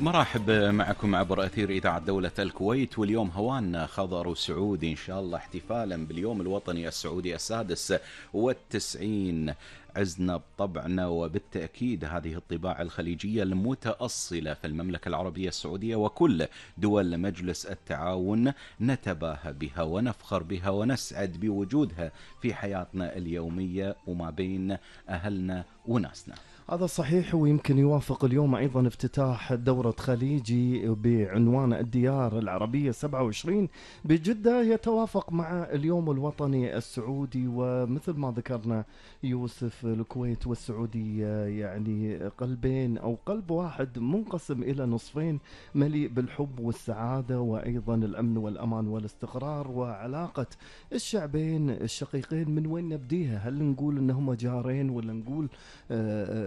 مرحب معكم عبر أثير إذاعة دولة الكويت. واليوم هوانا خضر سعودي إن شاء الله، احتفالا باليوم الوطني السعودي السادس والتسعين. عزنا بطبعنا، وبالتأكيد هذه الطباع الخليجية المتأصلة في المملكة العربية السعودية وكل دول مجلس التعاون نتباهى بها ونفخر بها ونسعد بوجودها في حياتنا اليومية وما بين أهلنا وناسنا. هذا صحيح، ويمكن يوافق اليوم أيضا افتتاح دورة خليجي بعنوان الديار العربية 27 بجدة، يتوافق مع اليوم الوطني السعودي. ومثل ما ذكرنا يوسف، الكويت والسعودية يعني قلبين أو قلب واحد منقسم إلى نصفين، مليء بالحب والسعادة وأيضا الأمن والأمان والاستقرار. وعلاقة الشعبين الشقيقين من وين نبديها؟ هل نقول أنهم جارين، ولا نقول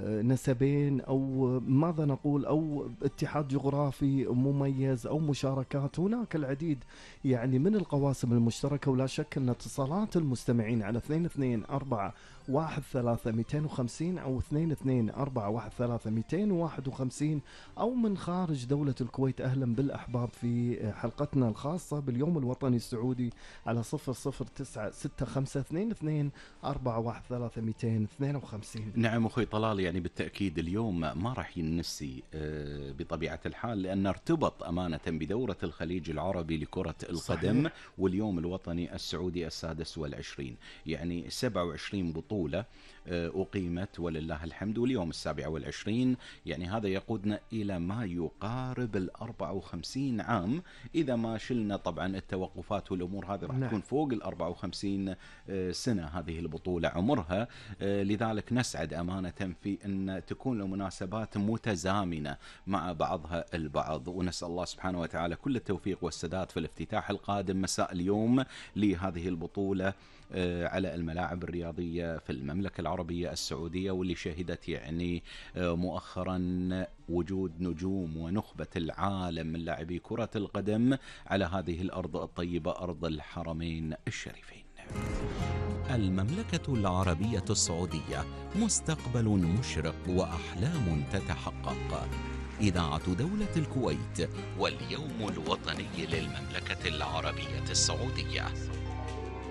نسبين، أو ماذا نقول، أو اتحاد جغرافي مميز، أو مشاركات؟ هناك العديد يعني من القواسم المشتركة، ولا شك أن اتصالات المستمعين على 22413250 أو 22413251 أو من خارج دولة الكويت. أهلا بالأحباب في حلقتنا الخاصة باليوم الوطني السعودي على 00965241352. نعم أخوي طلال، يعني بالتأكيد اليوم ما راح ينسي بطبيعة الحال، لأن ارتبط أمانة بدورة الخليج العربي لكرة القدم. صحيح. واليوم الوطني السعودي السادس والعشرين، يعني 27 بطولة أقيمت ولله الحمد، واليوم 27، يعني هذا يقودنا إلى ما يقارب 54 عام إذا ما شلنا طبعا التوقفات والأمور هذه، راح تكون فوق 54 سنة هذه البطولة عمرها. لذلك نسعد أمانة في أن تكون المناسبات متزامنة مع بعضها البعض، ونسأل الله سبحانه وتعالى كل التوفيق والسداد في الافتتاح القادم مساء اليوم لهذه البطولة على الملاعب الرياضية في المملكة العربية السعودية، واللي شهدت يعني مؤخرا وجود نجوم ونخبة العالم من لاعبي كرة القدم على هذه الأرض الطيبة، أرض الحرمين الشريفين. المملكة العربية السعودية، مستقبل مشرق وأحلام تتحقق. إذاعة دولة الكويت واليوم الوطني للمملكة العربية السعودية.